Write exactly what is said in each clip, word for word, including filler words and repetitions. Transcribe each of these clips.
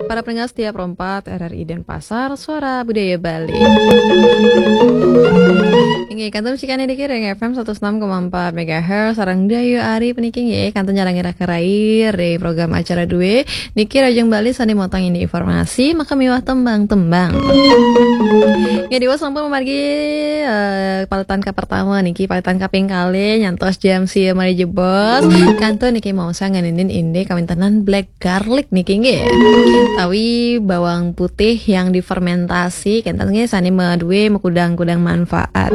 Para pendengar setia Pro empat R R I Denpasar, Suara Budaya Bali. Inggih, kantun cikan niki ring F M seratus enam koma empat megahertz, sareng Dayu Ari puniki nggih, kantun nyarengin Raka Rai ring program acara due. Niki Rajang Bali sane motong ini informasi, maka miwah tembang-tembang. Nggih, diwas sampun mamargi, eh, paletan ka pertama niki, paletan kaping kalih nyantos jam sia malih jebos. Kantun niki maosang ngeninin indik kawintenan black garlic niki nggih. Tawi bawang putih yang difermentasi, kenten nggih sane madue makudang-kudang manfaat.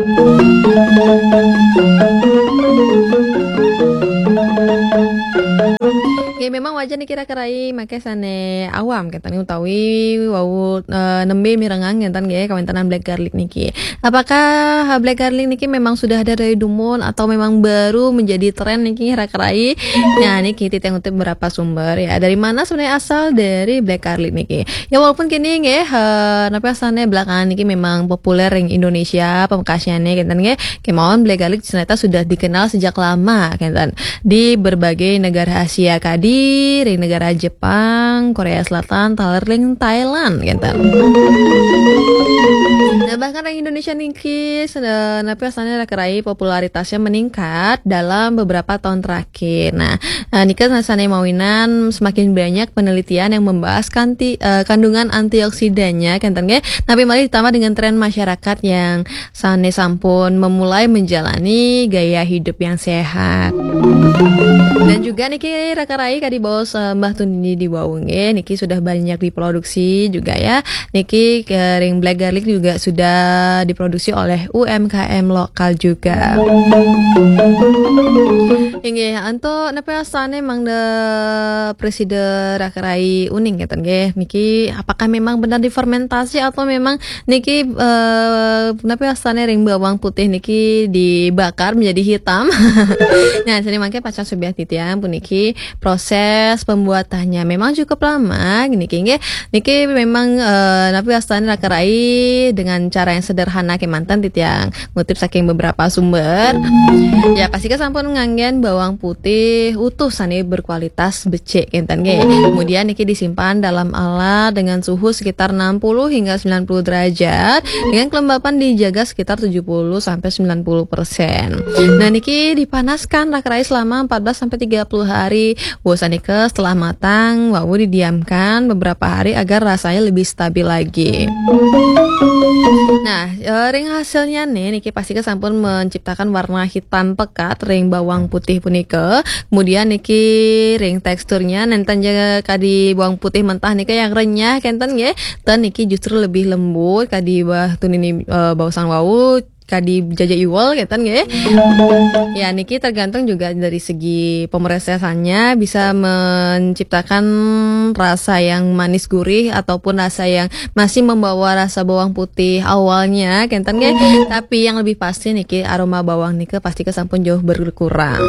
Nggih, memang wajar niki Raka Rai mangke sane awam kenten utawi wau, eh, nembe mirengang kenten nggih kawintenan black garlic niki. Apakah, eh, black garlic niki memang sudah ada dari dumun atau memang baru menjadi tren niki Raka Rai? Nah, niki titiang ngutip beberapa sumber ya. Dari mana sebenarnya asal dari black garlic niki? Ya walaupun kini nggih, eh, napa asane belakangan niki memang populer ring Indonesia, pamekasnyane kenten nggih. Kemawon black garlic ternyata sudah dikenal sejak lama kenten. Di berbagai negara Asia kadi, ring negara Jepang, Korea Selatan, taler ring Thailand kenten. Nah, bahkan ring Indonesia niki, se-, napa asane Raka Rai popularitasnya meningkat dalam beberapa tahun terakhir. Nah, eh, nika sane mawinan semakin banyak penelitian yang membahas kanti-, eh, kandungan antioksidannya kenten nggih. Napi malih ditambah dengan tren masyarakat yang sane sampun memulai menjalani gaya hidup yang sehat. Dan juga niki Raka Rai kadi baos, eh, Mbah Tunini di wau nggih, niki sudah banyak diproduksi juga ya. Niki ke ring black garlic juga sudah diproduksi oleh U M K M lokal juga. Inggih, antuk napa asane mangda presida Raka Rai uning kenten nggih. Niki apakah memang benar difermentasi atau memang niki, eh, napa asane ring bawang putih niki dibakar menjadi hitam? Nah, sini mangke pacang subiah titiang puniki proses pembuatannya memang cukup lama niki nggih. Niki memang, eh, napa asane Raka Rai dengan cara yang sederhana kemanten titiang ngutip saking beberapa sumber. Ya, pasti sampun nganggen bawang putih utuh sane berkualitas becik kenten nggih. Kemudian niki disimpan dalam alat dengan suhu sekitar enam puluh hingga sembilan puluh derajat dengan kelembapan dijaga sekitar tujuh puluh sampai sembilan puluh persen. Nah, niki dipanaskan Raka Rai selama empat belas sampai tiga puluh hari. Wau sanika setelah matang, wau didiamkan beberapa hari agar rasanya lebih stabil lagi. Nah, eh, ring hasilnya nih, niki pasti sampun menciptakan warna hitam pekat ring bawang putih punika. Kemudian niki ring teksturnya nenten ja kadi bawang putih mentah nika yang renyah kenten nggih. Ten niki justru lebih lembut kadi Mbah Tunini, eh, baosan wau kadi jaja iwel kenten nggih. Ya, niki tergantung juga dari segi pemrosesannya, bisa menciptakan rasa yang manis gurih ataupun rasa yang masih membawa rasa bawang putih awalnya kenten nggih. Tapi yang lebih pasti niki aroma bawang nika pasti sampun jauh berkurang.